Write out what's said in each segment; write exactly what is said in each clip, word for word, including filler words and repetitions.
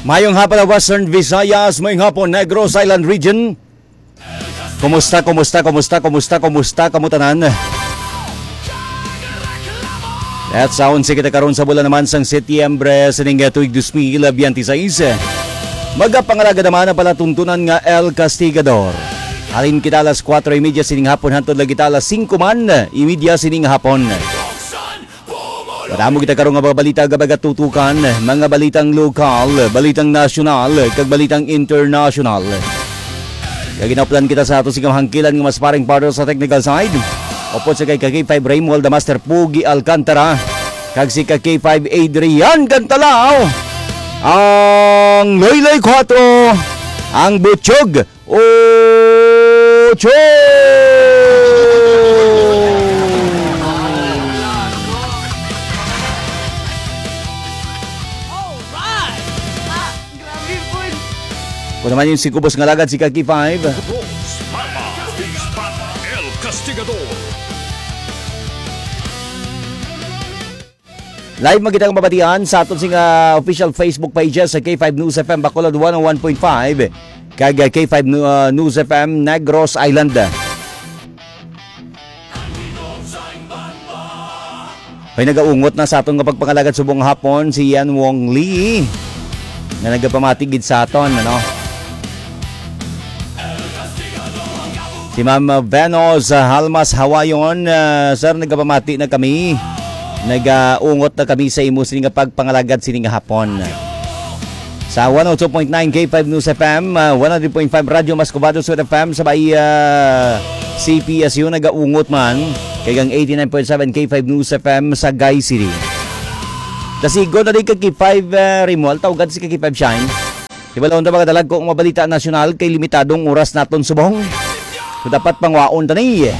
Mayong hapon, Western Visayas. Mayong hapon, Negros Island Region. Kumusta, kumusta, kumusta, kumusta, kumusta kamo tanan? At sa onse kita karon sa bulan naman sang Setyembre sining, eh, tuig dos mil biyente seis. Magapangalagad naman ang palatuntunan nga El Castigador. Halin kita alas kuwatro y media sining hapon, hantod lang kita alas singko man y media sining hapon. Madamo kita karon nga mga balita nga magatutukan, mga balitang lokal, balitang nasyonal, kag balitang internasyonal. Kag ginaplan kita sa ato sing hangkilan nga mas paring partner sa technical side. Upod sa kay K five Raymond, the Master Pugi Alcantara, kag si ka K five Adrian Cantalaw, ang Loyloy Quattro, ang Butchog Ocho. Alright! Ah, grabe po. Kung naman yung si Kubos nga lagad, si Kaki five. Bronze, Mama, Ispan, El Castigador. Live man kita nga mabatian sa aton sing, ah, official Facebook pages sa K five News F M Bacolod one oh one point five kag, ah, K five Nu-, ah, News F M Negros Island. Ay, nagaungot na sa aton nga pagpangalagad subong hapon si Yan Wong Lee nga nagapamati gid sa aton, ano? Si Ma'am Venus, ah, Halmas Hawayon, ah, sir, nagapamati na kami. Nagaungot na kami sa imo sini nga pagpangalagad sini nga hapon. Sa one oh two point nine K five News F M, ah, one hundred point five Radyo Mascobado Sud F M sa may, ah, C P S U nagaungot man. Kay ang eighty-nine point seven K five News F M sa Gai City. Dasigon na din ka K five, ah, Rimual, tawgan si ka K five Shine. Di ba, laon ta, mga dalagko, nga mga balita nasyonal kay limitadong oras naton subong. So, dapat pangwaon ta ni.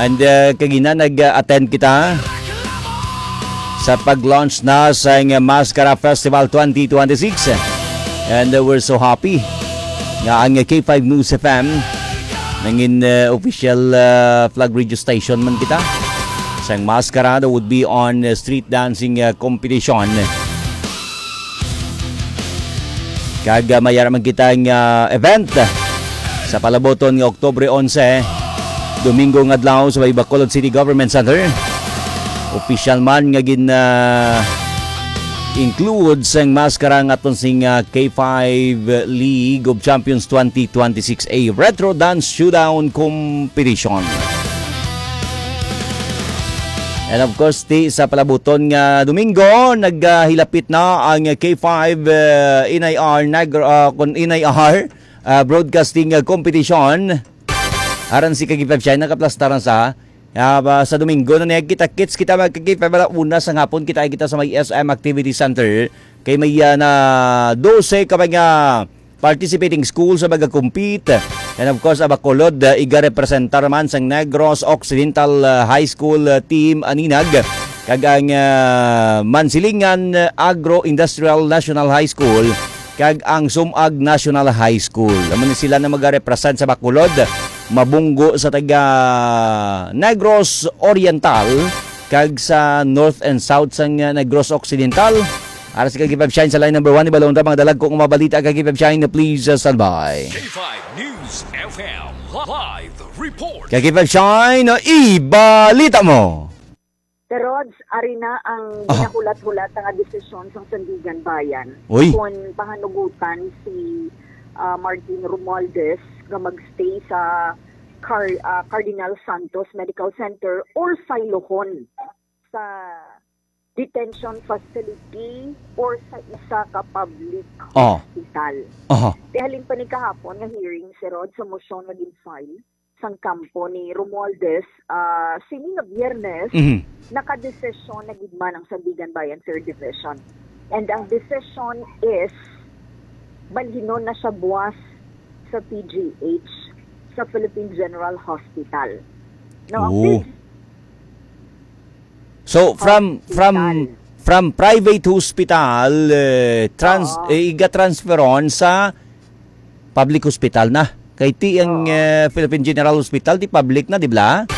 And, uh, kagina nag-attend kita sa pag-launch na sa Maskara Festival twenty twenty-six. And, uh, we're so happy nga ang K five News F M nangin, uh, official, uh, flag radio station man kita sang Maskara that would be on, uh, street dancing, uh, competition. Kag, ah, may ara man kita nga event sa palabuton nga Oktubre onse, Domingo nga adlaw sa may Bacolod City Government Center. Opisyal man nga gin, ah, include sang maskara nga aton sing, ah, K five League of Champions twenty twenty-six, a Retro Dance Showdown Competition. And of course, ti sa palabuton nga Domingo, naghilapit na ang K five, uh, N I R Negro, uh, kun N I R, uh, Broadcasting, uh, Competition. Aran si Kagipab siya, nakaplastaran sa, uh, ba, sa Domingo na niya kita kits kita magkakita, wala una sa hapon kita kita sa may S M Activity Center. Kay may, uh, na dose ka mga participating school sa pag-compete. And of course, ang Bacolod, uh, igarepresentar man sang Negros Occidental, uh, High School, uh, Team Aninag, kag ang, uh, Mansilingan, uh, Agro-Industrial National High School, kag ang Sumag National High School. Amo ni sila na magarepresent sa Bacolod, mabunggo sa taga Negros Oriental, kag sa North and South sang, uh, Negros Occidental. Ara si Kagipab Shine sa line number one. Ibalon ta mga dalagko nga mga balita, Kagipab Shine, please, uh, stand by. K five News F M live report. Kagipab Shine, ibalita mo. Sir Rods, ari na ang Ah. ginahulat-hulat nga desisyon sang Sandigan Bayan. Uy. Kung panganugutan si, ah, Martin Romualdez nga magstay sa Car-, ah, Cardinal Santos Medical Center or saylohon sa detention facility or sa isa ka public Oh. hospital. Aha. Kay halin pa ni kahapon nga hearing, Sir Rod, sa motion nga gin-file sang kampo ni Romualdez, ah, sini nga Biyernes, Mhm. nakadesisyon na gid man ang Sandigan Bayan Third Division. And ang decision is, balhinon na siya buwas sa P G H, sa Philippine General Hospital. No, ang Oh. P G So, from, from, Hospital. from private hospital, eh, trans-, Oo. eh, iga-transferon sa public hospital na. Kay ti ang, Oo. eh, Philippine General Hospital, di public na, di ba?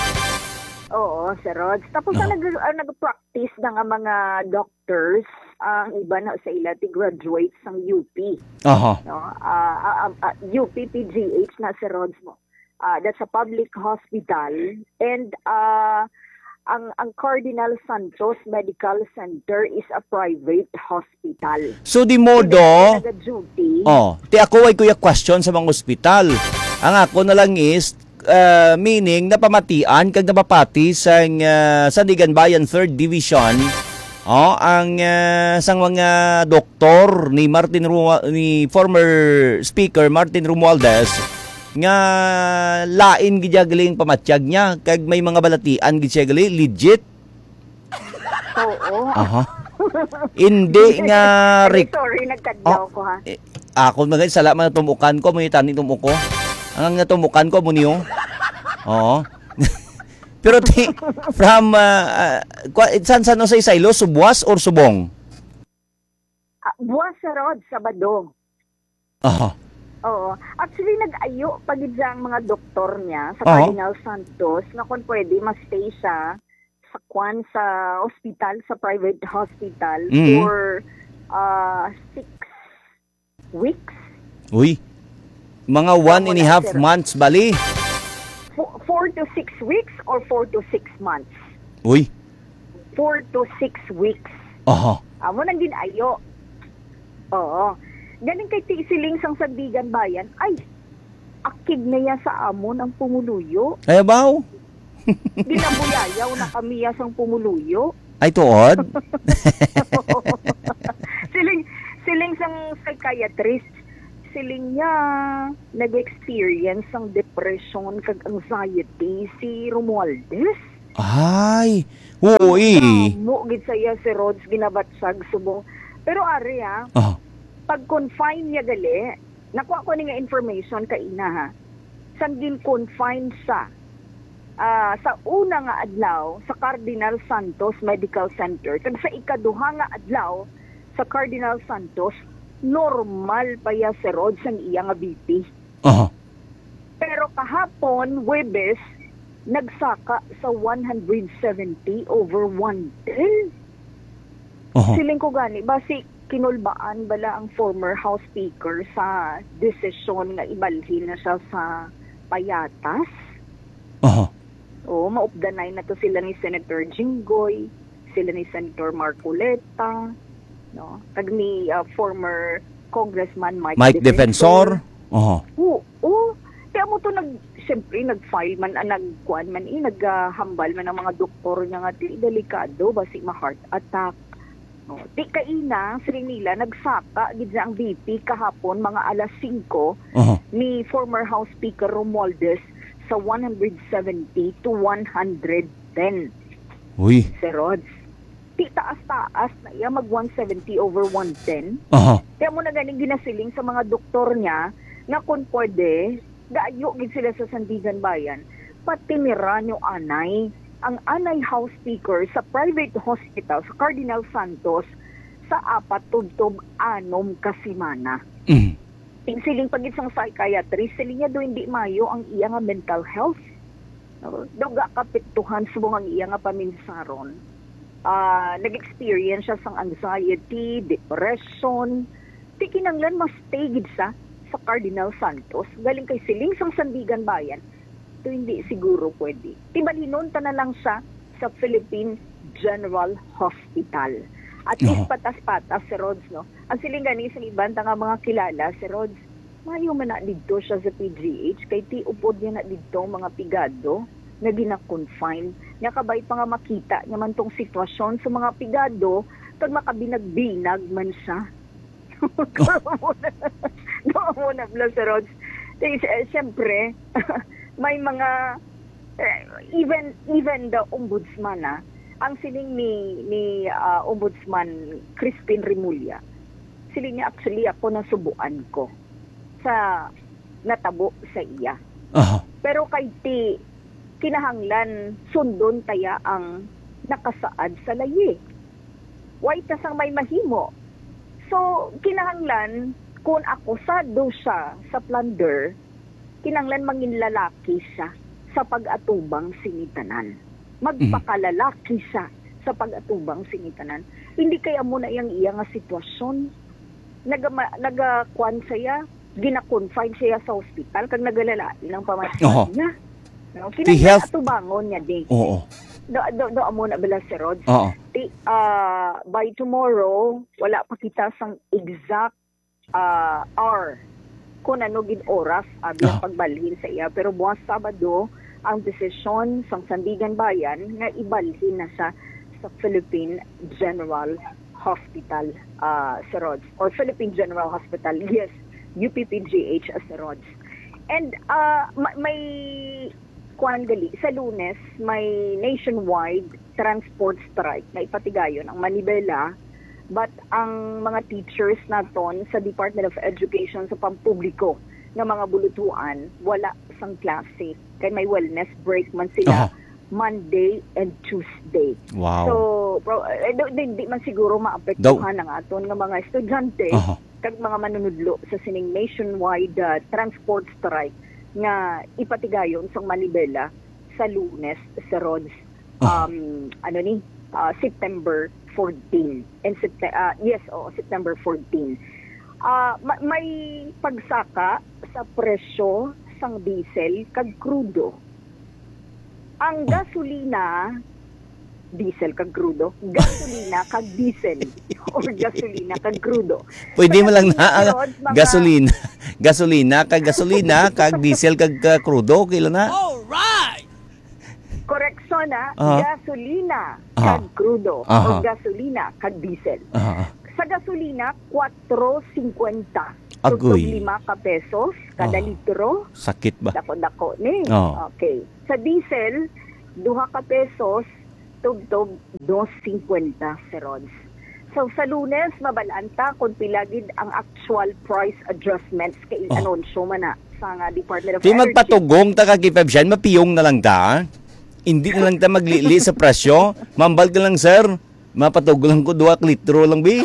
Oo, Sir Rods. Tapos ang, Aha. nag, ang nag-practice na nga mga doctors, ang iba na sa ila ti graduate sang U P. Aha. No? Ah, ah, ah, ah, U P P G H na, Sir Rods, mo. Ah, that's a public hospital. And ah, ang ang Cardinal Santos Medical Center is a private hospital. So di modo, Sila nag-duty. Oh, ti ako way kuya question sa mga ospital. Ang ako na lang is, uh, meaning napamatian kag napapati sang, uh, Sandiganbayan Third Division, oh, ang, uh, sang mga doktor ni Martin Rua- ni former Speaker Martin Romualdez nga lain gid gali ang pamatyag niya kag may mga balatian gid siya gali legit. Oo. Aha. Hindi nga Ay, rec- sorry, nagkadlaw Oh, ko ha. eh, ako mga sala man tumukan ko mo itani tumuko. Ang natumukan ko mo niyo. Oo. Pero ti, from uh, uh, kwa- San San Jose Silo, Subuas or Subong? Ah, buwas sa road, Sabado. Aha. Oo. Actually, nag-ayo pa gid siya ang mga doktor niya sa Oo. Cardinal Santos na kung pwede ma-stay siya sa kwan sa hospital, sa private hospital Mhm. for uh, six weeks. Uy. Mga one and a half months bali. Four, four to six weeks or four to six months? Uy. Four to six weeks. Aha. Amo nang ginayo. Oo. Galing kay ti siling sang Sandiganbayan, ay, akig na ya sa amon ang pumuluyo. Ay, abaw. Ginabuyayaw na kami ya sang pumuluyo. Ay, tuod. Siling, siling sang psychiatrist, siling niya nag-experience sang depression kag anxiety si Romualdez. Ay, oo eh. Mo gid saya si Rods ginabatsag subong. Pero ari ha, Oh. pag confine niya gali, nakuha ko ni nga information kaina ha. Sang gin-confine siya ah, sa una nga adlaw sa Cardinal Santos Medical Center kag sa ikaduha nga adlaw sa Cardinal Santos, normal pa ya si Rods ang iya nga B P. Aha. Pero kahapon, Webes, nagsaka sa one hundred seventy over one ten. Aha. Siling ko gani, basi kinulbaan bala ang former House Speaker sa desisyon nga ibalhin na siya sa payatas? Aha. Oo, maupdanay na to sila ni Senator Jinggoy, sila ni Senator Marcoleta, no? Kag ni ah, former Congressman Mike, Mike Defensor. Aha. Oo. Kaya mo to nag, siyempre, nag-file man, ah, nagkuan man, eh, naghambal man ang mga doktor niya nga, "Di, delikado, basi ma-heart attack." No? Di kaina, siling nila, nagsaka gid na ang B P kahapon, mga alas singko, Aha. ni former House Speaker Romualdez sa one hundred seventy to one hundred ten. Uy. Sir Rods. Di taas-taas na iya mag one seventy over one ten. Aha. Kaya mo na ganing ginasiling sa mga doktor niya na kung pwede, gaayo gid sila sa Sandiganbayan. Pati ni Ranyo Anay, ang Anay House Speaker sa private hospital sa Cardinal Santos sa apat tubtob anom ka semana. Mm. Siling pa gid sang psychiatrist, siling niya daw hindi mayo ang iya nga mental health. No? Daw gakapektuhan subong ang iya nga paminsaron. Ah, nag-experience siya sang anxiety, depression. Di kinanglan mas stay gid sa sa Cardinal Santos. Galing kay siling sang Sandiganbayan, to hindi siguro pwede. Tibalhinon ta na lang siya sa Philippine General Hospital. At least Oo. Patas-patas, Sir Rods, no? Ang siling gani sa iban ta nga mga kilala, Sir Rods, mayo man na didto siya sa P G H, kay ti upod niya na didto ang mga pigado nga gina-confine. Nga kabay pa nga makita niya man tong sitwasyon sa mga pigado, kag makabinag-binag man siya. Doon mo na, Sir Rods. Eh, s- eh, siyempre, may mga, eh, even, even the ombudsman, ah, ang siling ni, ni ah, Ombudsman Crispin Remulla, siling niya, "Actually, ako nasubuan ko sa natabo sa iya." Aha. Pero kay ti, kinahanglan sundon taya ang nakasaad sa layi. Way ta sang may mahimo. So, kinahanglan, kung akusado siya sa plunder, kinahanglan mangin lalaki siya sa pag-atubang sini tanan. magpakalalaki siya sa pag-atubang sini tanan. Hindi kay amo na iyang iya nga sitwasyon. Naga-, nagakuan siya, gina-confine siya sa hospital, kag nagalalain ang pamasahe Oho. niya. No? Ti Kinahanglan health atubangon niya, di. Oo. Do, do, do, amo na bala si Rods. Oo. Ti, ah, by tomorrow, wala pa kita sang exact, ah, hour kung ano gid oras, ah, biyang Ah. pagbalhin sa iya. Pero buwas Sabado, ang desisyon sang Sandigan Bayan nga ibalhin na siya sa Philippine General Hospital, ah, si Rods. Or Philippine General Hospital, yes, U P P G H, ah, si Rods. And, ah, ma-, may kuan gali, sa Lunes, may nationwide transport strike na ipatigayon ang Manibela, but ang mga teachers naton sa Department of Education sa pampubliko nga mga bulutuan, wala sang klase. Kay may wellness break man sila Aha. Monday and Tuesday. Wow. So, pro-, eh, do-, di, di man siguro maapektuhan Daw- ang aton nga mga estudyante Aha. kag mga manunudlo sa sining nationwide, ah, transport strike nga ipatigayon sang Manibela sa Lunes, sa Rods, Ah. um, ano ni, ah, September fourteen. And Septe-, ah, yes, oo, September fourteen. Ah, ma-, may pagsaka sa presyo sang diesel kag krudo. Ang Oh. gasolina, diesel kag krudo, gasolina kag diesel, or gasolina kag krudo. Pwede Sa man lang na ang Rods, mga gasolina, gasolina kag gasolina, kag diesel kag, ah, krudo, okay lang na. Alright! Correction, ah. Aha. Gasolina Aha. kag krudo, Aha. o gasolina kag diesel. Aha. Sa gasolina, kwatro singkwenta. Agoy. Tubtob lima ka pesos kada Oh. litro. Sakit ba? Dako-dako ni. Oh. Okay. Sa diesel, duha ka pesos, tubtob dos singkwenta, si Rods. So, sa Lunes, mabal-an ta kung pila gid ang actual price adjustments kay Oh. inanunsyo man na sa nga Department of Di Energy. Magpatugong ta ka, Kipab Shine, mapiyong na lang ta. Hindi na lang ta maglili sa presyo. Mambal ka lang, sir. Mapatugong lang ko, duha ka litro lang, bi.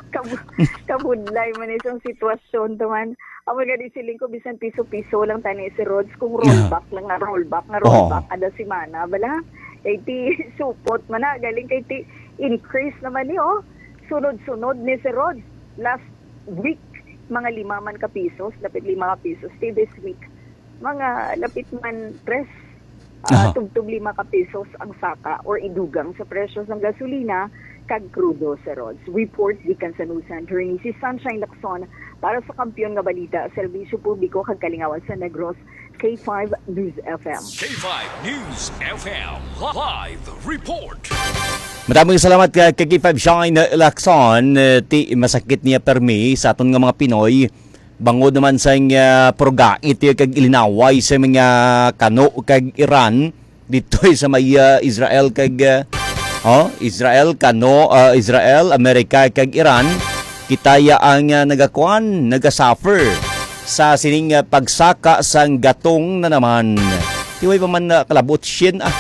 Kab-, kabudlay man isang sitwasyon to man. Amo nga di siling ko, bisan piso-piso lang tani si Rods, kung Yeah. rollback lang nga rollback, nga Oo. rollback kada semana, bala? Kay ti supot man na, galing kay ti increase naman ni, oh. Sunod-sunod ni si Rods. Last week, mga lima man ka pisos, lapit lima ka pisos. Ti this week, mga lapit man tres, ah, Aha. tubtob lima ka pisos ang saka or idugang sa presyo sang gasolina kag krudo, si Rods. Report gikan sa News Center ni si Sunshine Lacson para sa Kampiyon nga Balita, Serbisyo Publiko kag Kalingawan sa Negros, K five News F M. K five News F M live report. Maraming salamat ka, ka K five Shine Lacson. Eh, ti, masakit niya permi sa aton nga mga Pinoy. Bangod naman sa, ah, purgait kag ilinaway sa mga kano kag Iran dito sa may, ah, Israel kag, ah, oh, Israel, kano, ah, Israel, Amerika kag Iran, kita ya ang, ah, nagakuan, nagasuffer sa sining, ah, pagsaka sang gatong na naman. Tiway pa man na kalabot, shin, ah.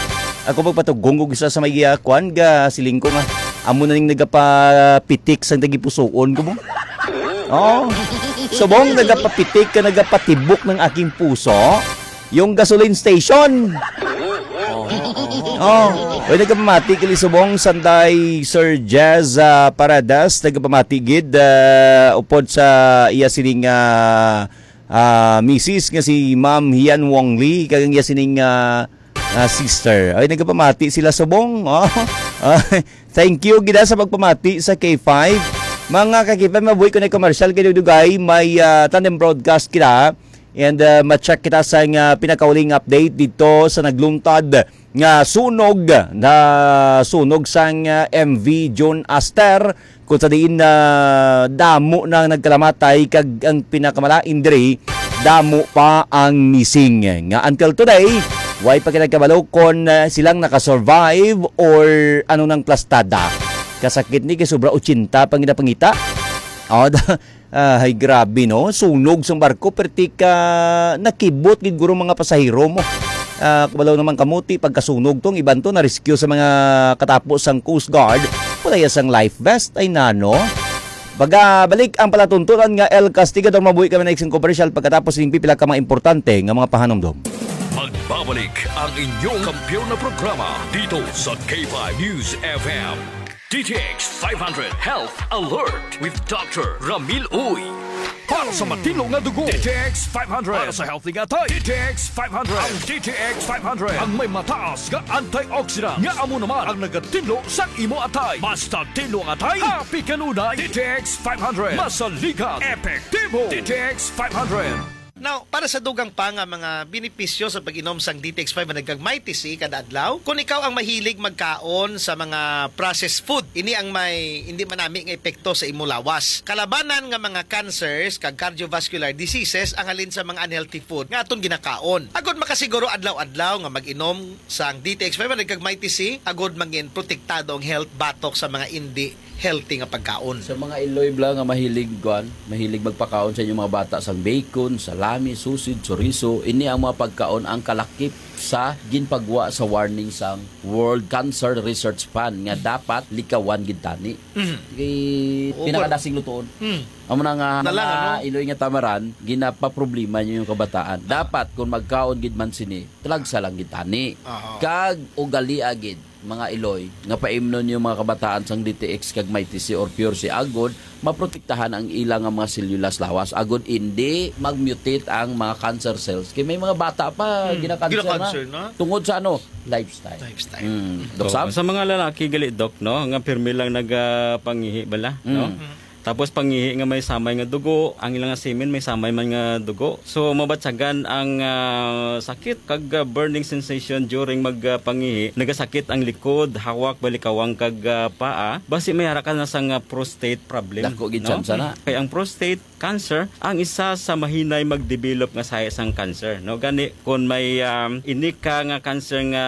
Ako magpatugong og isa sa may, ah, kuan, ga siling ko nga amo na ning nagapapitik sang tagipusoon ko mo. Oh. Subong nagapapitik ka, nagapatibok ng aking puso, yung gasoline station. Oh. Oy, nagapamati kali subong sanday Sir Jazz, ah, Paradas, nagapamati gid, ah, upod sa iya sining, ah, ah, misis nga si Ma'am Hian Wong Lee, kag ang iya sining, ah, ah, sister. Ay, nagapamati sila subong. Oh. Ah, thank you gid, ah, sa pagpamati sa K five. Mga ka-K five, mabuhi ko na commercial kay dugay may, ah, tandem broadcast kita. And, ah, ma-check kita sa nga pinakauling update dito sa nagluntad nga sunog, na sunog sang, ah, M V June Aster, kung sa diin na damo na ang nagkalamatay kag ang pinakamalain diri, damo pa ang missing. Nga until today, way pa kita kabalo kon, ah, silang nakasurvive or ano nang plastada. Kasakit ni kay sobra ochenta pa ang ginapangita. Oh, da-, ah, ay grabe, no? Sunog sang barko, perti ka nakibot gid guro mga pasahero mo. Ah, kabalo naman kamuti pagkasunog tong iban to na rescue sa mga katapo sang Coast Guard. Wala ya sang life vest ay nano. Pagabalik ang palatuntunan nga El Castigador, mabuhi kami na iksing komersyal pagkatapos ning pipila ka mga importante nga mga pahanumdom. Mag- Babalik ang inyong kampiyon na programa dito sa K five News F M. D T X five hundred Health Alert with Doctor Ramil Uy. Para sa matinlo nga dugo, D T X five hundred. Para sa healthy nga atay, D T X five hundred. Ang D T X five hundred ang may mataas nga antioxidant nga amo naman ang nagatinlo sa imo atay. Mas tinlo ang atay, happy kanunay. D T X five hundred. Masaligan, epektibo. D T X five hundred. Now, para sa dugang pa nga mga benepisyo sa pag-inom sang D T X five hundred kag Mighty C kada adlaw, kung ikaw ang mahilig magkaon sa mga processed food, ini ang may hindi manami nga epekto sa imo lawas. Kalabanan nga mga cancers kag cardiovascular diseases ang halin sa mga unhealthy food nga aton ginakaon. Agod makasiguro adlaw-adlaw nga mag-inom sang D T X five hundred kag Mighty C, agod mangin protektado ang health batok sa mga indi healthy nga pagkaon. Sa mga iloy bala nga mahilig, kuan, mahilig magpakaon sa inyong mga bata sang bacon, salami, sausage, chorizo, ini ang mga pagkaon ang kalakip sa ginpagwa sa warning sang World Cancer Research Fund nga dapat likawan gid tani. Mhm. Kay Oo, pinakadasig lutuon. Mm. Amo na nga Nalang, mga ano? Iloy nga tamaran, ginapaproblema niyo yung kabataan. Dapat kung magkaon gid man sini, talagsa lang gid tani. Aha. Kag ugalia gid mga iloy nga paimnon yung mga kabataan sang D T X kag Mighty C or Pure C agod maprotektahan ang ila nga mga selyulas lawas agod indi mag-mutate ang mga cancer cells. Kay may mga bata pa Hmm. gina-cancer na. Gina-cancer na. Tungod sa ano? Lifestyle. Lifestyle. Hmm. Doc So, Sam? sa mga lalaki gali, Doc, no, nga pirmi lang nagapangihi bala, no? Hmm. Tapos pangihi nga may samay nga dugo, ang ilang semen may samay man nga dugo. So mabatyagan ang, ah, sakit kag, ah, burning sensation during mag, ah, pangihi. Nagasakit ang likod, hawak, balikawang kag, ah, paa. Basi may ara ka na sang, ah, prostate problem, Dako gid no? tsansa na. Kay ang prostate cancer ang isa sa mahinay magdevelop nga sahi sang cancer, no? Gani, kung may, um, ini ka nga cancer nga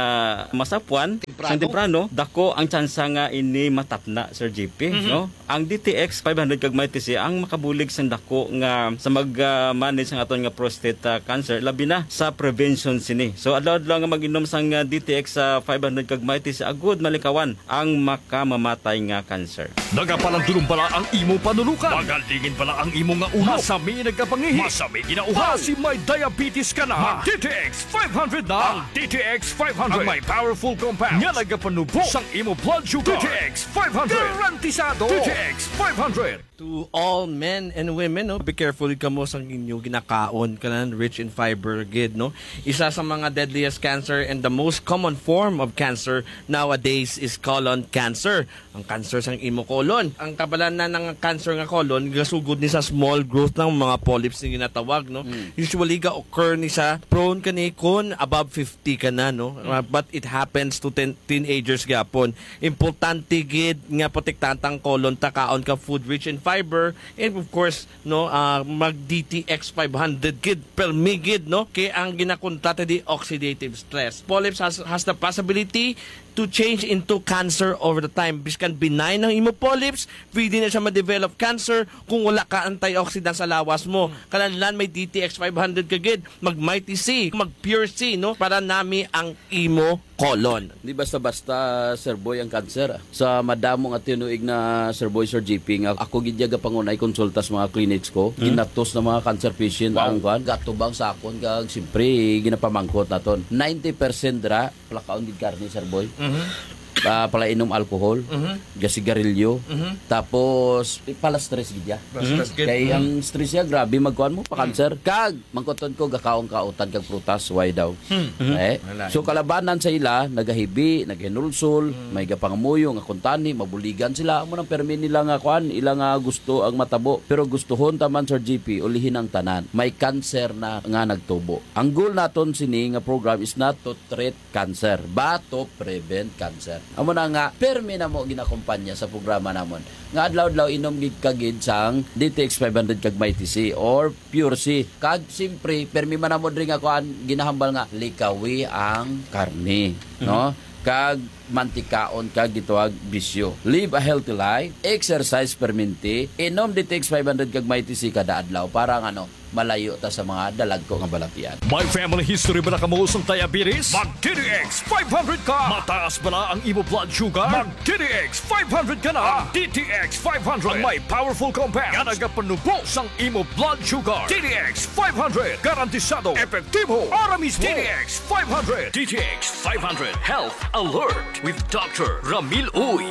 masapwan Temprano. sang temprano, dako ang tsansa nga ini matapna, Sir J P, Mhm. no? Ang D T X five hundred kag Mighty C ang makabulig sang dako nga sa mag, ah, manage sang aton nga prostate, ah, cancer, labi na sa prevention sini. So, adlaw-adlaw nga mag-inom sang, ah, D T X, ah, five hundred kag Mighty C agud malikawan ang makamamatay nga cancer. Nagapalandulong bala ang imo panulukan? Magalingin bala ang imo nga ulo? Masami nagkapangihi? Masami ginauhaw? Basi may diabetes ka na? Mag D T X five hundred na. Ang D T X five hundred ang may powerful compound nga nagapanubo sang imo blood sugar. D T X five hundred. Garantisado. D T X five hundred. To all men and women, no, be careful kamo sang inyo ginakaon, kanan rich in fiber gid, no. Isa sa mga deadliest cancer and the most common form of cancer nowadays is colon cancer. Ang cancer sang imo colon. Ang kabalanan nga cancer nga colon, gasugod ni sa small growth ng mga polyps nga ginatawag, no. Mm. Usually ga-occur ni sa prone kani kun above fifty ka na, no. Mm. Uh, but it happens to ten, teenagers gyapon. Importante gid nga protektahan tang colon ta, kaon ka food rich in fiber, and of course, no, ah, mag D T X five hundred gid, permi gid, no, kay ang ginakontra ta di oxidative stress. Polyps has, has the possibility to change into cancer over the time. Biskan benign ang imo polyps, pwede na siya ma-develop cancer kung wala ka antioxidant sa lawas mo. Hmm. Kinahanglan may D T X five hundred ka gid, mag Mighty C, mag Pure C, no, para nami ang imo colon. Di basta-basta, Sir Boy, ang cancer, ah. Sa madamo nga tinuig na, Sir Boy, Sir G P, nga ako gid ya gapangunay konsulta sa mga clinics ko, Hmm? ginatos na mga cancer patient Wow. ang kuan, gatubang sa akon, kag siyempre, ginapamangkot naton. Ninety percent dira, palakaon gid karne, Sir Boy. Mhm. Ah, palainom alcohol, Mhm. gasigarilyo, Mhm. tapos, eh, pala stress gid ya. Pala stress gid. Kay Mhm. ang stress ya, grabe, magkuan mo, pa-cancer. Kag, mangkuton ko, gakaon ka utan kag prutas, why daw? Hmm. Mhm. Eh? Wala. So, kalabanan sa ila, nagahibi, naghinulsol, Hmm. may gapangamuyo nga kuntani, mabuligan sila. Amo nang permi nila nga kuan, ila nga gusto ang matabo. Pero gustuhon ta man, Sir G P, ulihin ang tanan. May cancer na nga nagtubo. Ang goal naton sini nga program is not to treat cancer, but to prevent cancer. Amo na nga, permi na mo ginakumpanya sa programa namon. Nga adlaw-adlaw inom gid ka gid sang D T X five hundred kag Mighty C or Pure C. Kag, siyempre, permi man namo diri nga kuan, ginahambal nga likawi ang karne, Mhm. no? Kag mantikaon kag gitawag bisyo. Live a healthy life, exercise perminti, inom D T X five hundred kag Mighty C kada adlaw para nga, ano, malayo ta sa mga dalagko nga balatian. May family history bala kamo sang diabetes? Mag D T X five hundred ka! Mataas bala ang imo blood sugar? Mag D T X five hundred ka na! Ang D T X five hundred ang may powerful compound nga nagapanubo sang imo blood sugar. D T X five hundred, garantisado, epektibo, ara mismo. D T X five hundred. D T X five hundred Health Alert with Doctor Ramil Uy.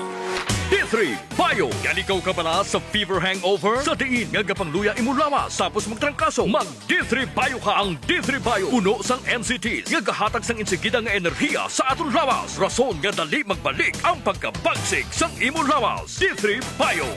D three Bio. Naligaw ka bala sa fever hangover? Sa diin nga gapangluya imo lawas tapos magtrangkaso? Mag D three Bio ka. Ang D three Bio puno sang N C Ts nga gahatag sang insigida nga enerhiya sa aton lawas, rason nga dali magbalik ang pagkabagsik sang imo lawas. D three Bio.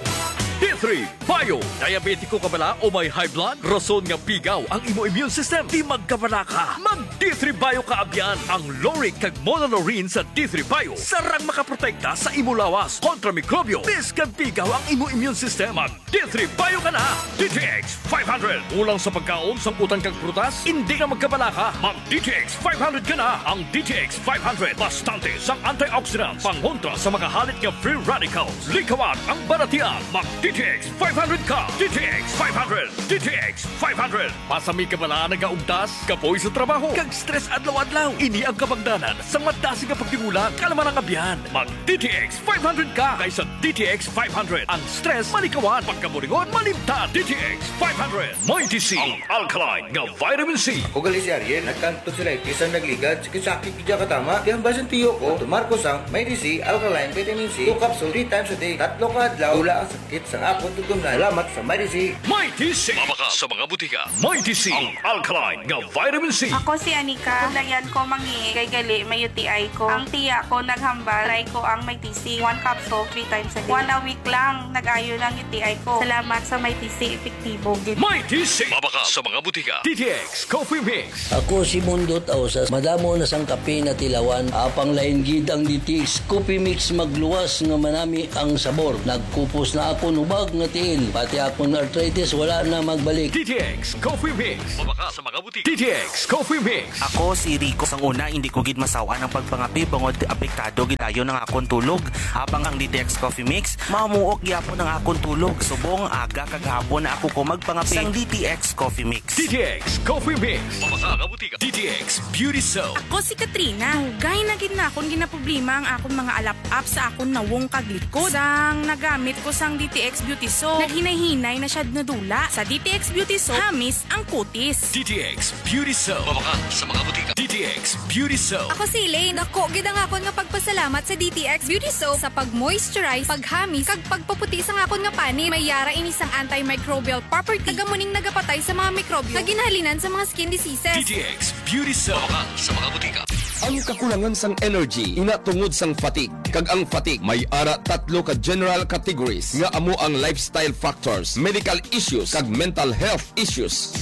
D three Bio. Diabetiko ka bala o may high blood? Rason nga pigaw ang imo immune system. Di magkabalaka. Mag D three Bio ka abyan. Ang lauric kag monolaurin sa D three Bio sarang makaprotekta sa imo lawas kontra mikrobyo. Bisan pigaw ang imo immune system, mag D three Bio ka na. D T X five hundred. Kulang sa pagkaon, sangkutan kag prutas? Indi na magkabalaka. Mag D T X five hundred ka na. Ang D T X five hundred bastante sang antioxidants, pangontra sa mga halit nga free radicals. Likawan ang balatian. Mag D T X five hundred ka. D T X five hundred. D T X five hundred. Pasami ka bala nagaugtas, kapoy sa trabaho, kag stress adlaw-adlaw? Ini ang kabangdanan sang madasig nga pagtingulang, kalma nga abyan. Mag D T X five hundred ka, kay sa D T X five hundred, ang stress malikawan, pagkaburingon malimtan. D T X five hundred. Mighty C, ang alkaline nga vitamin C. Ako gali si Ariel, nagkang tonsillitis ang nagligad, sakit-sakit gid katama. Di hambal sang tiyo ko, tumar ko sang Mighty C Alkaline Vitamin C, two capsule, three times a day. Tatlo ka adlaw, wala ang sakit sang akon tutumnan. Salamat sa Mighty C. Mighty C. Mabakal sa mga butika. Mighty C, ang alkaline nga vitamin C. Ako si Anika. Kulayan ko mangi kay gali may U T I ko. Ang tiya ko naghambal, try ko ang Mighty C. One capsule, three times a day. One a week lang, nag-ayo na ang U T I ko. Salamat sa Mighty C, epektibo gid. Mighty C. Mabakal sa mga butika. D T X Coffee Mix. Ako si Mundot Ausas. Madamo na sang kape natilawan. Apang lain gid ang D T X Coffee Mix, magluwas nga manami ang sabor. Nagkupos na akon hubag nga tiil. Pati akon arthritis wala na magbalik. D T X Coffee Mix. Mabakal sa mga butika. D T X Coffee Mix. Ako si Rico. Sang una, hindi ko gid masaw-an ang pagpangape bangod apektado gid dayon ang akon tulog. Apang ang D T X Coffee Mix, mamuok gyapon ang akon tulog. Subong aga kag hapon na ako ko magpangape. Sang D T X Coffee Mix. D T X Coffee Mix. Mabakal sa mga butika. D T X Beauty Soap. Ako si Katrina. Dugay na gid na akon ginaproblema ang akon mga alap-ap sa akon nawong kag likod. Sang nagamit ko sang D T X Beauty Soap, naghinay-hinay na siya nadula. Sa D T X Beauty Soap, hamis ang kutis. D T X Beauty Soap. Mabakal sa mga butika. D T X Beauty Soap. Ako si Elaine. Dako gid ang akon nga pagpasalamat sa D T X Beauty Soap sa pag-moisturize, paghamis, kag pagpaputi sang akon nga panit. May yara ini sang antimicrobial property. Taga mo ning nagapatay sa mga mikrobyo nga ginahalinan sa mga skin diseases. D T X Beauty Soap. Mabakal sa mga butika. Ang kakulangan sang energy, ina tungod sang fatigue. Kag ang fatigue may ara tatlo ka general categories nga amo ang lifestyle factors, medical issues, kag mental health issues.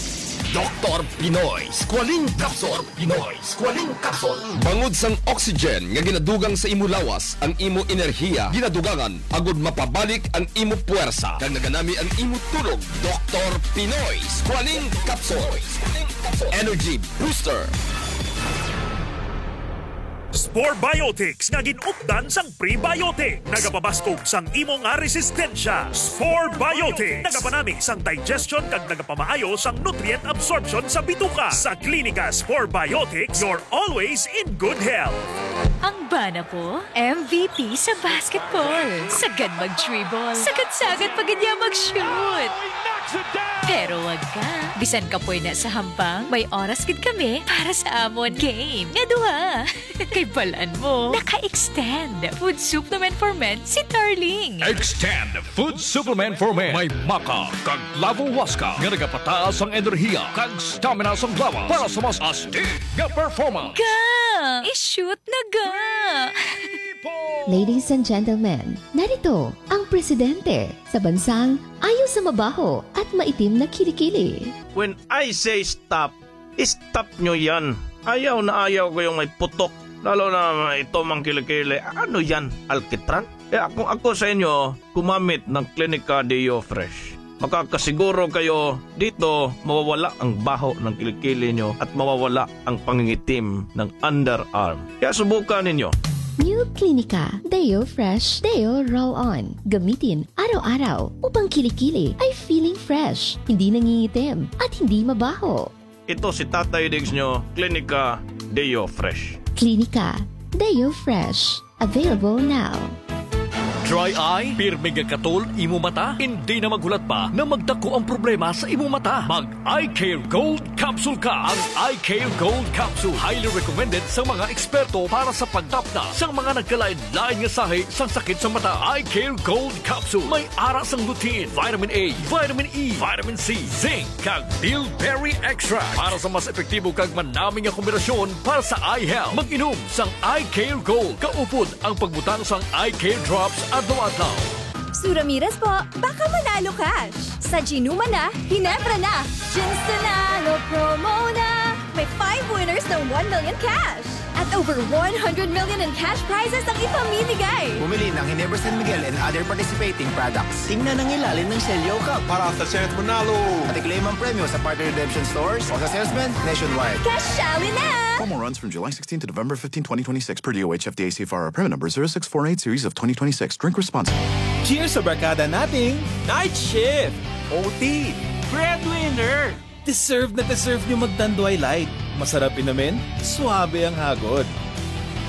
Doktor Pinoy Squalene Capsule. Pinoy Squalene Capsule. Bangod sang oxygen nga ginadugang sa imo lawas, ang imo enerhiya ginadugangan agud mapabalik ang imo puwersa kag naganami ang imo tulog. Doktor Pinoy Squalene Capsule. Energy Booster. Spore Biotics nga gin-updan sang prebiotic. Nagapabaskog sang imo nga resistensya. Spore Biotics. Nagapanami sang digestion kag nagapamaayo sang nutrient absorption sa bituka. Sa Klinika Spore Biotics, you're always in good health. Ang bana ko, M V P sa basketball. Sagad mag-dribble. Sagad-sagad pa gid niya mag-shoot. Pero wag ka. Bisan kapoy na sa hampang, may oras gid kami para sa amon game nga duha. Kay balan mo, naka-extend Food Supplement for Men si Darling. Extend Food Supplement for Men. May maca kag Lavo Huasca nga nagapataas ang enerhiya kag stamina sang lawas para sa mas astig nga performance. Ga! I-shoot na ga! Ladies and gentlemen, narito ang presidente sa bansang ayo sa mabaho at maitim na kilikili. When I say stop, stop nyo yan. Ayaw na ayaw ko yung may putok. Lalo na ito mang kilikili. Ano yan? Alkitran? Kaya kung ako sa inyo, gumamit ng Clinica Deo Fresh. Makakasiguro kayo dito mawawala ang baho ng kilikili nyo at mawawala ang pangingitim ng underarm. Kaya subukan ninyo. New Clinica Deo Fresh Deo Roll-On. Gamitin araw-araw upang kilikili ay feeling fresh, hindi nangingitim, at hindi mabaho. Ito si Tatay Diggs nyo, Klinika Deo Fresh. Klinika Deo Fresh. Available now. Dry eye? Pirmi nga katol imo mata? Hindi na maghulat pa na magdako ang problema sa imo mata. Mag Eye Care Gold Capsule ka. Ang Eye Care Gold Capsule, highly recommended sa mga eksperto para sa pagtapna sang mga nagkalain-lain nga sahi sang sakit sa mata. Eye Care Gold Capsule may ara sang lutein, vitamin A, vitamin E, vitamin C, zinc, kag bilberry extract para sa mas epektibo kag manami nga kombinasyon para sa eye health. Mag-inom sang Eye Care Gold kaupod ang pagbutang sang Eye Care Drops adlaw-adlaw. Sue Ramirez po, baka manalo cash. Sa Ginuma na, Ginebra na. Ginsunalo promo na. May five winners ng one million cash. At over one hundred million in cash prizes ang ipamimigay. Bumili ng Ginebra San Miguel and other participating products. Tingnan ang ilalim ng selyo cup Para sa chance manalo. At i-claim ang premyo sa partner redemption stores o sa salesman nationwide. Kasyali na! Promo runs from July sixteenth to November fifteenth, twenty twenty-six, per D O H F D A C F R, permit number zero six four eight series of twenty twenty-six. Drink responsibly. Cheers sa barkada nating night shift, O T, breadwinner. Deserve na deserve nyo mag Tanduay Light. Masarap inumin, suabe ang hagod.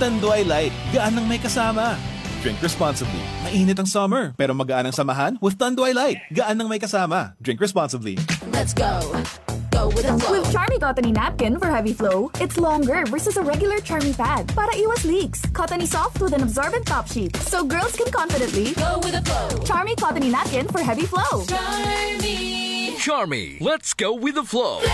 Tanduay Light, gaan ang may kasama. Drink responsibly. Mainit ang summer, pero magaan ang samahan with Tanduay Light. Gaan ang may kasama. Drink responsibly. Let's go. Go with the flow. With Charmy Cottony Napkin for Heavy Flow, it's longer versus a regular Charmy pad para iwas leaks. Cottony soft with an absorbent top sheet, so girls can confidently Go with the flow. Charmy Cottony Napkin for Heavy Flow. Charmy. Charmy, let's go with the flow.